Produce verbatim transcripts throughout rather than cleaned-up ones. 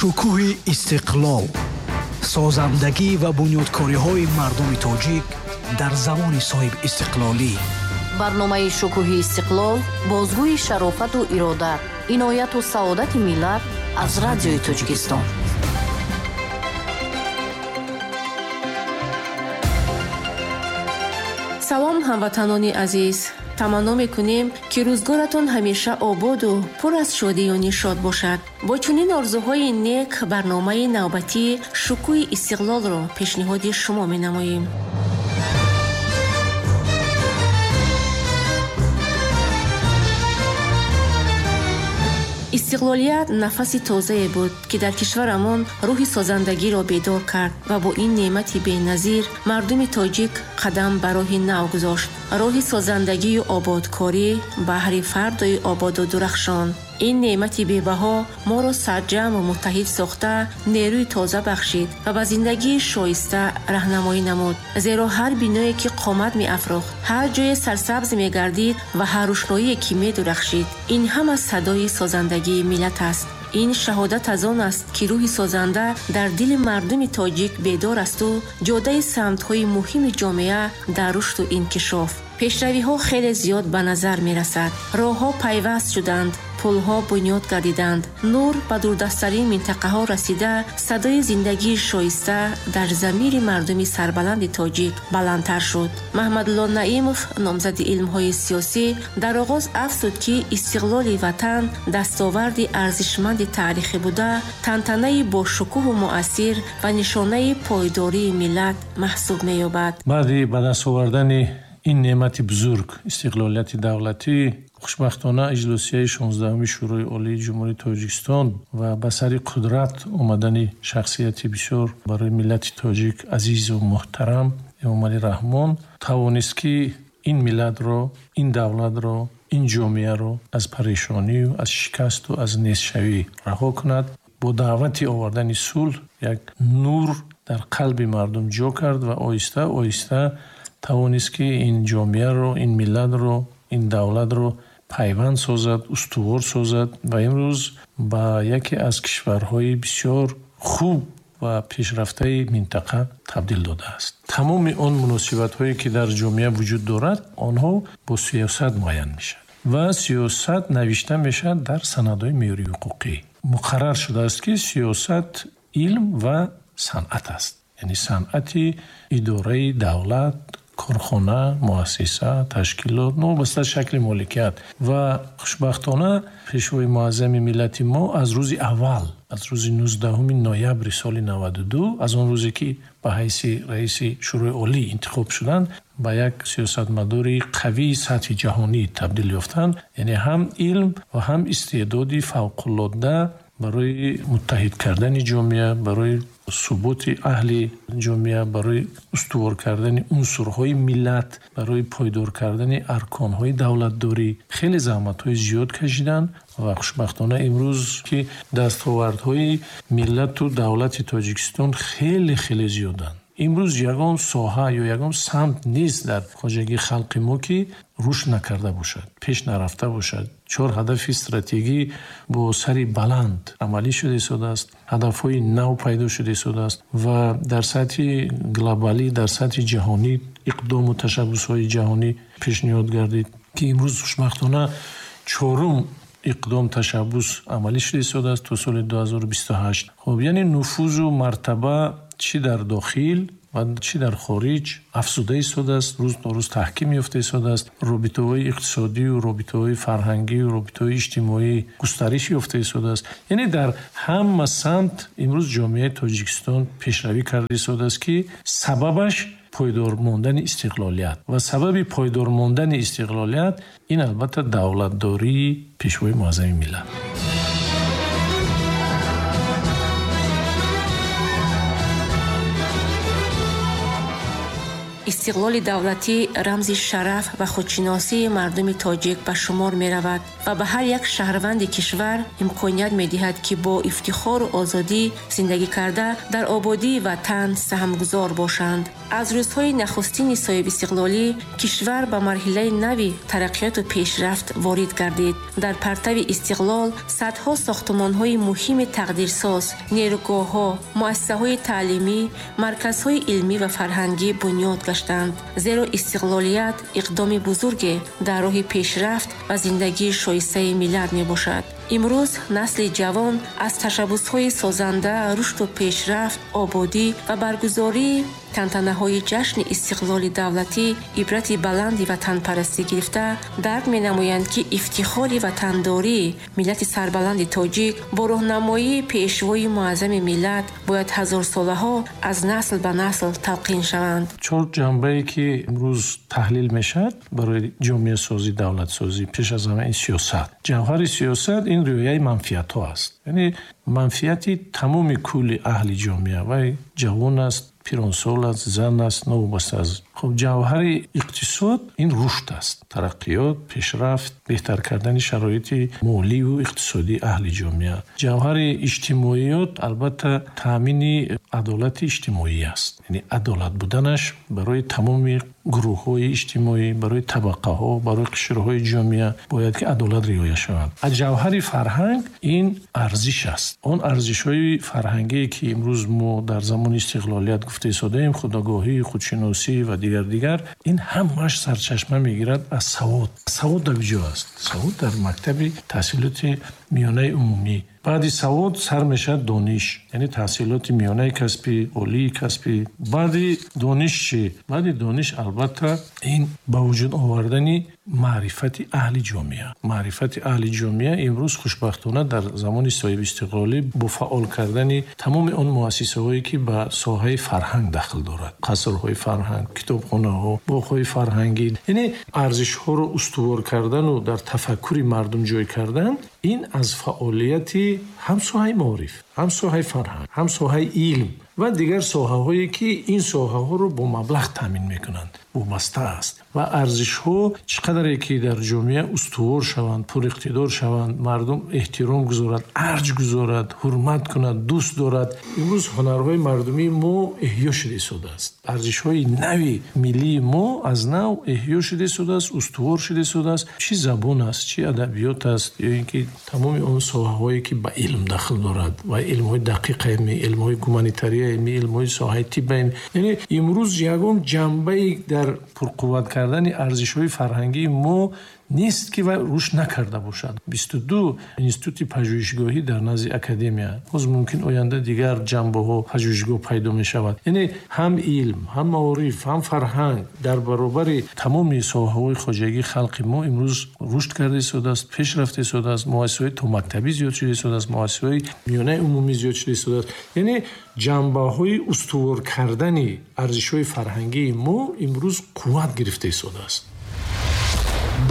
Шукӯҳи истиқлол, созандагӣ ва бунёдкориҳои мардуми тоҷик дар замони соҳибистиқлолӣ. Барномаи Шукӯҳи истиқлол бозгӯи шарофату ирода, инояту саодати миллат аз Радиои Тоҷикистон. Салом, ҳамватанони азиз! Таманно мекунем, ки рӯзгоратон ҳамеша ободу пур аз шодию нишод бошад. Бо чунин орзуҳои нек барномаи навбатии Шукӯҳи истиқлолро пешниҳоди шумо менамоем. Истиқлолият нафаси тозае буд, ки дар кишварамон рӯҳи созандагиро бедор кард ва бо ин неъмати беназир мардуми тоҷик қадам ба роҳи нав гузошт. Роҳи созандагию ободкорӣ баҳри фардои ободу дурахшон. Ин неъмати бебаҳо моро сарҷамъу муттаҳид сохта, нерӯи тоза бахшид ва ба зиндагии шоиста раҳнамоӣ намуд. Зеро ҳар биное, ки қомат меафрохт, ҳар ҷое сарсабз мегардид ва ҳар рӯшноие, ки медурахшид, ин ҳама садои созандагии миллат аст. Ин шаҳодат аз он аст, ки рӯҳи созанда дар дили мардуми тоҷик бедор асту ҷодаи самтҳои муҳими ҷомеа дар рушду инкишоф. Пешравиҳо хеле зиёд ба назар мерасад. Роҳҳо пайваст шуданд, пулҳо бунёд гардиданд, нур ба дурдасттарин минтақаҳо расида, садои зиндагии шоиста дар замири мардуми сарбаланди тоҷик баландтар шуд. Маҳмадулло Наимов, номзади илмҳои сиёсӣ, дар оғоз афзуд, ки истиқлоли ватан дастоварди арзишманди таърихӣ буда, тантанаи бошукӯҳу муассир ва нишонаи пойдории миллат маҳсуб меёбад. Баъди ба даст овардани ин неъмати бузург, истиқлолияти давлатӣ, хушбахтона иҷлосияи шонздаҳуми Шӯрои Олии Ҷумҳурии Тоҷикистон ва ба сари қудрат омадани шахсияти бисёр барои миллати тоҷик азизу муҳтарам Эмомалӣ Раҳмон тавонист, ки ин миллатро, ин давлатро, ин ҷомеаро аз парешонию аз шикасту аз нестшавӣ раҳо кунад. Бо даъвати овардани сулҳ як нур дар қалби мардум ҷо кард ва оҳиста оҳиста тавонист, ки ин ҷомеаро, ин миллатро, ин давлатро пайванд созад, устувор созад ва имрӯз ба яке аз кишварҳои бисёр хуб ва пешрафтаи минтақа табдил додааст. Тамоми он муносибатҳое, ки дар ҷомеа вуҷуд дорад, онҳо бо сиёсат муайян мешавад ва сиёсат навишта мешавад дар санадҳои меъёрии ҳуқуқӣ. Муқаррар шудааст, ки сиёсат илм ва санъат аст, яъне санъати идораи давлат, корхона, муассиса, ташкилот, новобаста аз шакли моликият. Ва хушбахтона пешвои муаззами миллати мо аз рӯзи аввал, аз рӯзи нуздаҳуми ноябри соли наваду ду, аз он рӯзе, ки ба ҳайси раиси Шӯрои Олӣ интихоб шуданд, ба як сиёсатмадори қавии сатҳи ҷаҳонӣ табдил ёфтанд. Яъне ҳам илм ва ҳам истеъдоди фавқулодда барои муттаҳид кардани ҷомеа, барои суботи аҳли ҷомеа, барои устувор кардани унсурҳои миллат, барои пойдор кардани арконҳои давлатдорӣ хеле заҳматҳои зиёд кашиданд ва хушбахтона имрӯз, ки дастовардҳои миллату давлати Тоҷикистон хеле хеле зиёданд. Имрӯз ягон соҳа ё ягон самт нест дар хоҷагии халқи мо, ки рушд накарда бошад, пеш нарафта бошад. Чор ҳадафи стратегӣ бо сари баланд амалӣ шуда истодааст, ҳадафҳои нав пайдо шуда истодааст ва дар сатҳи глобалӣ, дар сатҳи ҷаҳонӣ иқдому ташаббусҳои ҷаҳонӣ пешниҳод гардид, ки имрӯз хушбахтона чорум иқдом ташаббус амалӣ шуда истодааст то соли ду ҳазору бисту ҳашт. Хуб, яъне нуфузу мартаба чӣ дар дохил ва чӣ дар хориҷ афзуда истодааст, рӯз то рӯз таҳким ёфта истодааст. Робитаҳои иқтисодию робитаҳои фарҳангию робитаҳои иҷтимоӣ густариш ёфта истодааст. Яъне дар ҳама самт имрӯз ҷомеаи Тоҷикистон пешравӣ карда истодааст, ки сабабаш пойдор мондани истиқлолият ва сабаби пойдор мондани истиқлолият ин албатта давлатдории пешвои муаззами миллат. Истиқлоли давлатӣ рамзи шараф ва худшиносии мардуми тоҷик ба шумор меравад ва ба ҳар як шаҳрванди кишвар имконият медиҳад, ки бо ифтихору озодӣ зиндагӣ карда дар ободии ватан саҳмгузор бошанд. Аз рӯзҳои нахустини соҳибистиқлолӣ кишвар ба марҳилаи нави тараққиёту пешрафт ворид гардид. Дар партави истиқлол садҳо сохтумонҳои муҳими тақдирсоз, нерӯгоҳҳо, муассисаҳои таълимӣ, марказҳои илмӣ ва фарҳангӣ бунёд гаштанд. Зеро истиқлолият иқдоми бузурге дар роҳи пешрафт ва зиндагии шоистаи миллат мебошад. Имрӯз насли ҷавон аз ташаббусҳои созанда, рушду пешрафт, ободӣ ва баргузории тантанаҳои ҷашни истиқлоли давлатӣ ибрати баланди ватанпарастӣ гирифта, дарк менамоянд, ки ифтихори ватандории миллати сарбаланди тоҷик бо роҳнамоии пешвои муаззами миллат бояд ҳазорсолаҳо аз насл ба насл талқин шаванд. Чор ҷанбае ки имрӯз таҳлил мешавад барои ҷомеасозӣ, давлатсозӣ, пеш аз ҳама ин сиёсат. Ҷавҳари сиёсат ин риояи манфиатҳо аст. Яъне манфиати тамоми кулли аҳли ҷомеа, вай ҷавон аст, пиронсол аст, зан аст, новобаста аз. Хуб, ҷавҳари иқтисод ин рушд аст, тараққиёт, пешрафт, беҳтар кардани шароити моливу иқтисодии аҳли ҷомеа. Ҷавҳари иҷтимоиёт албатта таъмини адолати иҷтимоӣ аст, яъне адолат буданаш барои тамоми гурӯҳҳои иҷтимоӣ, барои табақаҳо, барои қишрҳои ҷомеа бояд ки адолат риоя шавад. Аз ҷавҳари фарҳанг ин арзиш аст. Он арзишҳои фарҳангие ки имрӯз мо дар замони истиқлолият гуфта истодаем, худогоҳӣ, худшиносӣ ва дигар дигар, ин ҳамааш сарчашма мегирад аз савод. Савод дар куҷо аст? Савод дар мактаби таҳсилоти миёнаи умумӣ. Баъди савод сар мешавад дониш, яъне таҳсилоти миёнаи касбӣ, олии касбӣ. Баъди дониш чӣ? Баъди дониш албатта ин ба вуҷуд овардани маърифати аҳли ҷомеа. Маърифати аҳли ҷомеа имрӯз хушбахтона дар замони соҳибистиқлолӣ бо фаъол кардани тамоми он муассисаҳое ки ба соҳаи фарҳанг дахл дорад, қасрҳои фарҳанг, китобхонаҳо, боғҳои фарҳангӣ, яъне арзишҳоро устувор кардану дар тафаккури мардум ҷой кардан, ин аз фаъолияти ҳам соҳаи маориф, ҳам соҳаи фарҳанг, ҳам соҳаи илм ва дигар соҳаҳое ки ин соҳаҳоро бо маблағ таъмин мекунанд вобаста аст. Ва арзишҳо чӣ қадаре ки дар ҷомеа устувор шаванд, пуриқтидор шаванд, мардум эҳтиром гузорад, арҷ гузорад, ҳурмат кунад, дӯст дорад. Имрӯз ҳунарҳои мардумии мо эҳё шуда истодааст. Арзишҳои нави миллии мо аз нав эҳё шуда истодааст, устувор шуда истодааст. Чӣ забон аст, чӣ адабиёт аст, ё ин ки тамоми он соҳаҳое ки ба илм дахл дорад ва илмҳои дақиқаи, илмҳои гуманитарияи, илмҳои соҳаи тибб. Яъне имрӯз ягон ҷанбае дар пурқувват кардани арзишҳои фарҳангии мо нест ки вай рушд накарда бошад. бисту ду институти пажӯҳишгоҳӣ дар назди академия, боз мумкин оянда дигар ҷанбаҳо пажӯҳишгоҳ пайдо мешавад. Яъне ҳам илм, ҳам маориф, ҳам фарҳанг дар баробари тамоми соҳаҳои хоҷагии халқи мо имрӯз рушд карда истодааст, пеш рафта истодааст. Муассисаҳои томактабӣ зиёд шуда истодааст, муассисаҳои миёнаи умумӣ зиёд шуда истодааст. Яъне ҷанбаҳои устувор кардани арзишҳои фарҳангии мо имрӯз қувват гирифта истодааст.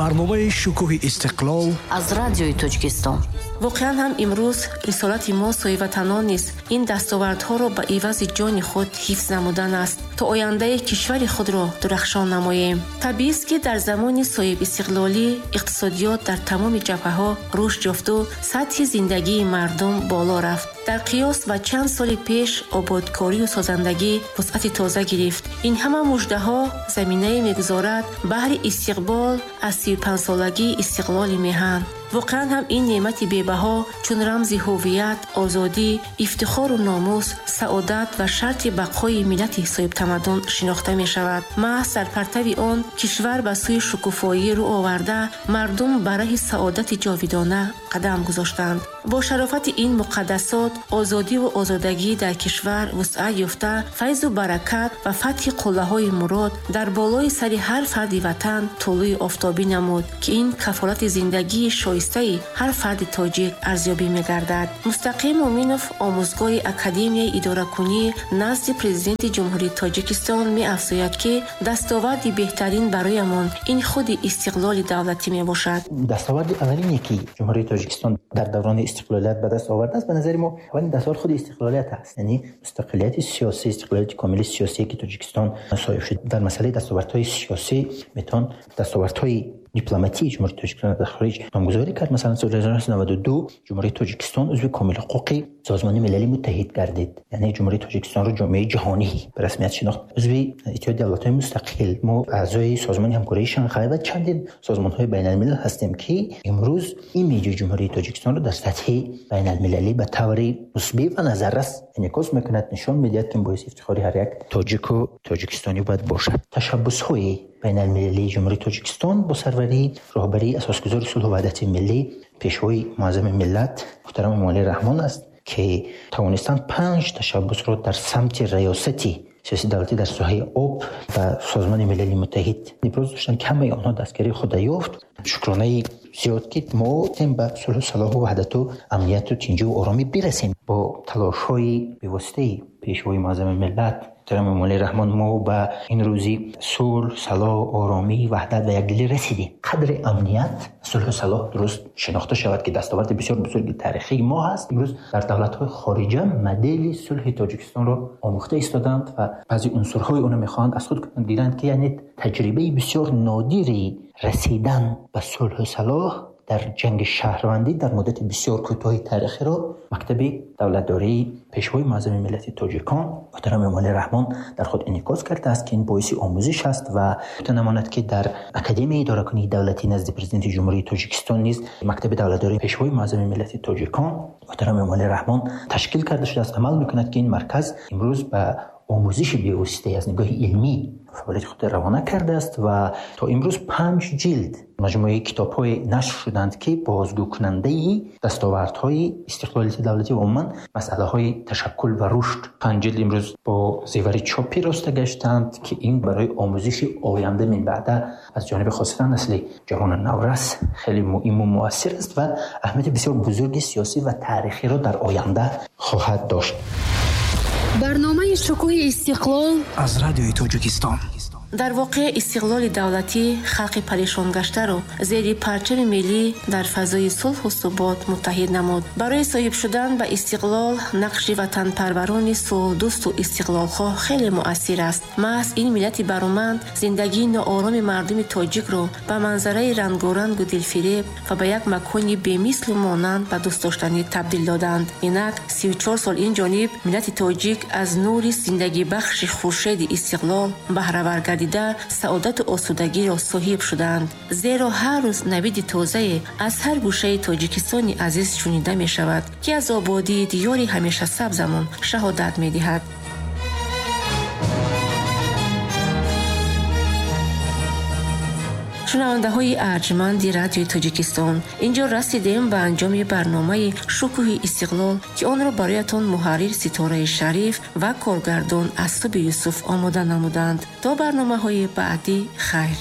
Барномаи шукӯҳи истиқлол аз радиои Тоҷикистон. Воқеан ҳам имрӯз рисолати мо соҳибватанон низ ин дастовардҳоро ба ивази ҷони худ ҳифз намудан аст, то ояндаи кишвари худро дурахшон намоем. Табиист, ки дар замони соҳибистиқлолӣ иқтисодиёт дар тамоми ҷабҳаҳо рушд ёфту сатҳи зиндагии мардум боло рафт. Дар қиёс ба чанд соли пеш ободкорию созандагӣ вусъати тоза гирифт. Ин ҳама муждаҳо заминае мегузорад баҳри истиқбол аз сию панҷсолагии истиқлоли меҳан. Воқеан ҳам ин неъмати бебаҳо чун рамзи ҳуввият, озодӣ, ифтихору номус, саодат ва шарти бақои миллати соҳибтамаддун шинохта мешавад. Маҳз дар партави он кишвар ба сӯи шукуфоӣ рӯ оварда, мардум ба раҳи саодати ҷовидона қадам гузоштанд. Бо шарофати ин муқаддасот озодиву озодагӣ дар кишвар вусъат ёфта, файзу баракат ва фатҳи қуллаҳои мурод дар болои сари ҳар фарди ватан тулӯи офтобӣ намуд, ки ин кафолати зиндагии шоиста шоистаи ҳар фарди тоҷик арзёбӣ мегардад. Мустақим Муминов, омӯзгори Академияи идоракунӣ назди Президенти Ҷумҳурии Тоҷикистон, меафзояд, ки дастоварди беҳтарин бароямон ин худи истиқлоли давлатӣ мебошад. Дастоварди аввалине ки Ҷумҳурии Тоҷикистон дар даврони истиқлолият ба даст овардааст, ба назари мо аввалин дастовард худи истиқлолият аст, яъне мустақилияти сиёсӣ, истиқлолияти комили сиёсие ки Тоҷикистон соҳиб шуд. Дар масъалаи дастовардҳои сиёсӣ метавон дастовардҳои дипломатии Ҷумҳурии Тоҷикистон дар хориҷ номгузорӣ кард. Масалан, соли ҳазору нӯҳсаду наваду ду Ҷумҳурии Тоҷикистон узви комили ҳуқуқи Созмони Милали Муттаҳид гардид, яъне Ҷумҳурии Тоҷикистонро ҷомеаи ҷаҳонӣ ба расмият шинохт. Узви Иттиҳоди Давлатҳои Мустақил, мо аъзои Созмони Ҳамкории Шанхай ва чандин созмонҳои байналмилал ҳастем, ки имрӯз имиҷи Ҷумҳурии Тоҷикистонро дар сатҳи байналмилалӣ ба таври мусбӣ ва назаррас инъикос мекунад, нишон медиҳад, ки боиси ифтихори ҳар як тоҷику тоҷикистонӣ бояд бошад. Ташаббусҳои байналмилалии Ҷумҳурии Тоҷикистон бо сарварии роҳбарии асосгузори сулҳу ваҳдати миллӣ, пешвои муаззами миллат муҳтарам Эмомалӣ Раҳмон аст, ки тавонистанд панҷ ташаббусро дар самти раёсати сиёсии давлатӣ дар соҳаи об ба Созмони Милали Муттаҳид иброз доштанд, ки ҳамаи онҳо дастгирии худро ёфт. Шукронаи зиёд, ки мо ба сулҳу салоҳу ваҳдату амнияту тинҷиву оромӣ бирасем. Бо талошҳои бевоситаи пешвои муаззами миллат муҳтарам Эмомалӣ Раҳмон мо ба ин рӯзи сулҳ, салоҳ, оромӣ, ваҳдат ва якдилӣ расидем. Қадри амният, сулҳу салоҳ дуруст шинохта шавад, ки дастоварди бисёр бузурги таърихии мо ҳаст. Имрӯз дар давлатҳои хориҷа модели сулҳи Тоҷикистонро омӯхта истоданд ва баъзе унсурҳои онро мехоҳанд аз худ кунанд, гиранд, ки яъне таҷрибаи бисёр нодири расидан ба сулҳу салоҳ дар ҷанги шаҳрвандӣ дар муддати бисёр кӯтоҳи таърихиро мактаби давлатдории пешвои муаззами миллати тоҷикон муҳтарам Эмомалӣ Раҳмон дар худ инъикос кардааст, ки ин боиси омӯзиш аст ва гуфта намонад, ки дар Академияи идоракунии давлатӣ назди Президенти Ҷумҳурии Тоҷикистон низ мактаби давлатдории пешвои муаззами миллати тоҷикон муҳтарам Эмомалӣ Раҳмон ташкил карда шудааст, амал мекунад, ки ин марказ имрӯз ба омӯзиши бевоситаи аз нигоҳи илмӣ фаъолияти худро равона кардааст ва то имрӯз панҷ ҷилд маҷмӯаи китобҳои нашр шуданд, ки бозгӯкунандаи дастовардҳои истиқлолияти давлатӣ ва умуман масъалаҳои ташаккул ва рушд. Панҷ ҷилд имрӯз бо зевари чопӣ роста гаштанд, ки ин барои омӯзиши оянда минбаъда аз ҷониби хосатан насли ҷавону наврас хеле муҳиму муассир аст ва аҳамияти бисёр бузурги сиёсӣ ва таърихиро дар оянда хоҳад дошт. Барномаи шукӯҳи истиқлол аз Радиои Тоҷикистон. Дар воқеъ истиқлоли давлатӣ халқи парешонгаштаро зери парчами миллӣ дар фазои сулҳу субот муттаҳид намуд. Барои соҳиб шудан ба истиқлол нақши ватанпарварони сулҳдӯсту истиқлолхоҳ хеле муассир аст. Маҳз ин миллати бароманд зиндагии ноороми мардуми тоҷикро ба манзараи рангорангу дилфиреб ва ба як макони бемислу монанд ба дӯстдоштанӣ табдил доданд. Инак сию чор сол ин ҷониб миллати тоҷик аз нури зиндагибахши хуршеди истиқлол баҳравар гардид, саодату осудагиро соҳиб шуданд. Зеро ҳар рӯз навиди тозае аз ҳар гӯшаи Тоҷикистони азиз шунида мешавад, ки аз ободии диёри ҳамешасабзамон шаҳодат медиҳад. Шунавандаҳои арҷманди Радиои Тоҷикистон, инҷо расидем ба анҷоми барномаи шукӯҳи истиқлол, ки онро бароятон муҳаррир Ситораи Шариф ва коргардон Асуби Юсуф омода намуданд. То барномаҳои баъдӣ хайр.